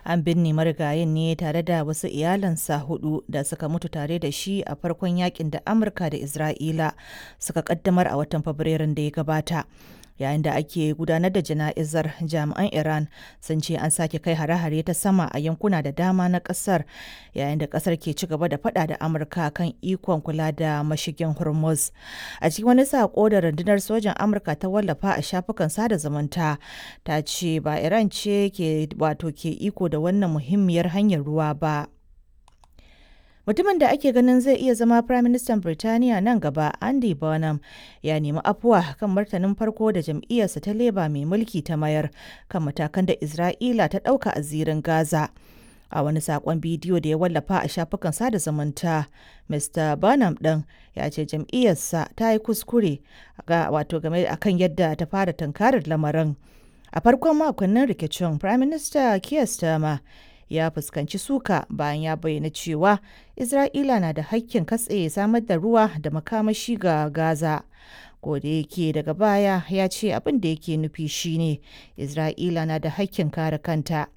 An binne marigayin ne tare da wasu iyalansa hudu da suka mutu tare da shi a farkon yakin da Amurka da Isra'ila suka kaddamar a watan Fabrairun da ya gabata. Yayin da ake gudanar da jana'izar, jami'an Iran sun ce an sake kai hare-hare ta sama a yankuna da dama na kasar, yayin da kasar ke ci gaba da fada da Amurka kan ikon kula da mashigin Hormuz. A cikin wani sako da rundunar sojan Amurka ta wallafa a shafukan sada zumunta, ta ce ba Iran ce ke wato ke iko da wannan muhimmiyar hanyar ruwa ba. Mutumin da ake ganin zai iya zama Firaministan Birtaniya nan gaba, Andy Burnham, ya nemi afuwa kan martanin farko da jam'iyyarsa ta Labour mai mulki ta mayar kan matakan da Isra'ila ta ɗauka a zirin Gaza. A wani saƙon bidiyo da ya wallafa a shafukan sada zumunta, Mr. Burnham ɗin ya ce jam'iyyarsa ta yi kuskure wato game akan yadda ta fara tunkarar lamarin. A farkon makonnin rikicin, Prime Minister Keir Starmer ya fuskanci suka bayan ya bayyana cewa Isra'ila na da hakkin katse samar da ruwa da makamashi ga Gaza. Da yake daga baya ya ce abin da yake nufi shine Isra'ila na da hakkin kare kanta.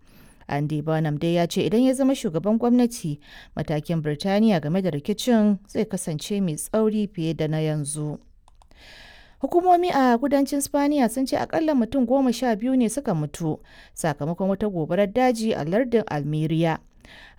Andy Burnham dai ya ce idan ya zama shugaban gwamnati, matakin Birtaniya game da rikicin zai kasance mai tsauri fiye da na yanzu. Hukumomi a kudancin Spaniya sun ce akalla mutum 12 ne suka mutu sakamakon wata gobarar daji a lardin Almeria.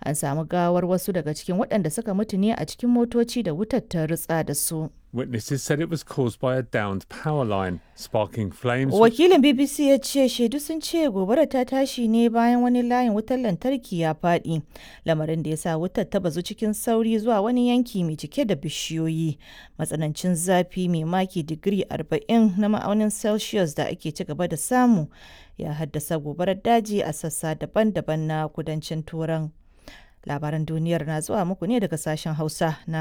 An samu gawar wasu daga cikin waɗanda suka mutu ne a cikin motoci da wutar ta rutsa da su. Witnesses said it was caused by a downed power line, sparking flames. Wakilin BBC ya ce shaidu sun ce gobarar ta tashi ne bayan wani layin wutar lantarki ya faɗi, lamarin da ya sa wutar ta bazu cikin sauri zuwa wani yanki mai cike da bishiyoyi. Matsanancin zafi mai maki digiri 40 na ma'aunin Celsius da ake ci gaba da samu ya haddasa gobarar daji a sassa daban-daban na kudancin Turan. Labaran duniyar na zuwa muku ne daga sashen Hausa na